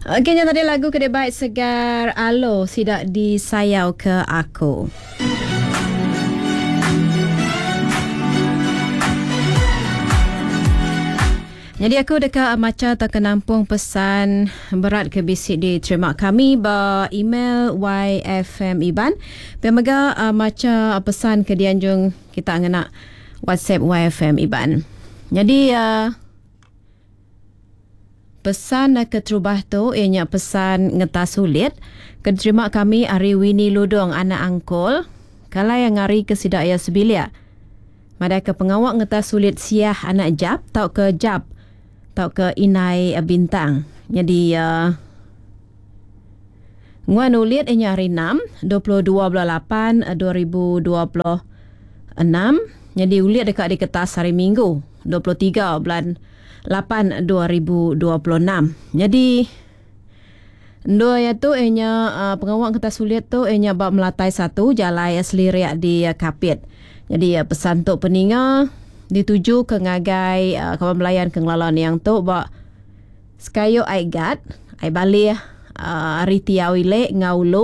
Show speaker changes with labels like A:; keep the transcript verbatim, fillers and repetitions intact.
A: Okey, nya tadi lagu ke dibai Segar Alo sida disayau ke aku. Jadi aku deka maca atau nampung pesan berat ke bisi diterima kami ba email Y F M Iban. Pemega uh, maca pesan ke dianjung kita ngena WhatsApp Y F M Iban. Jadi uh, pesan keterubah tu ianya pesan ngetas sulit ke diterima kami ari Winnie Ludong anak angkol kalau yang ngari ke sida ia sebilik. Madai ke pengawak ngetas sulit siah anak jap tau ke jap tau ke inai bintang. Jadi uh, nguan ulit ianya hari enam dua puluh dua bulan lapan dua ribu dua puluh enam. Jadi ulit dekat di kertas hari Minggu dua puluh tiga bulan lapan dua ribu dua puluh enam. Jadi dua ya tu ianya uh, pengawak kertas sulit tu ianya bab melatai satu jalai seliriak di uh, Kapit. Jadi uh, pesan tu peninga dituju ke ngagai uh, kawan belayan ke ngelalan yang tu bak sekayu ai gat ai balih uh, ari tiau ile ngaulu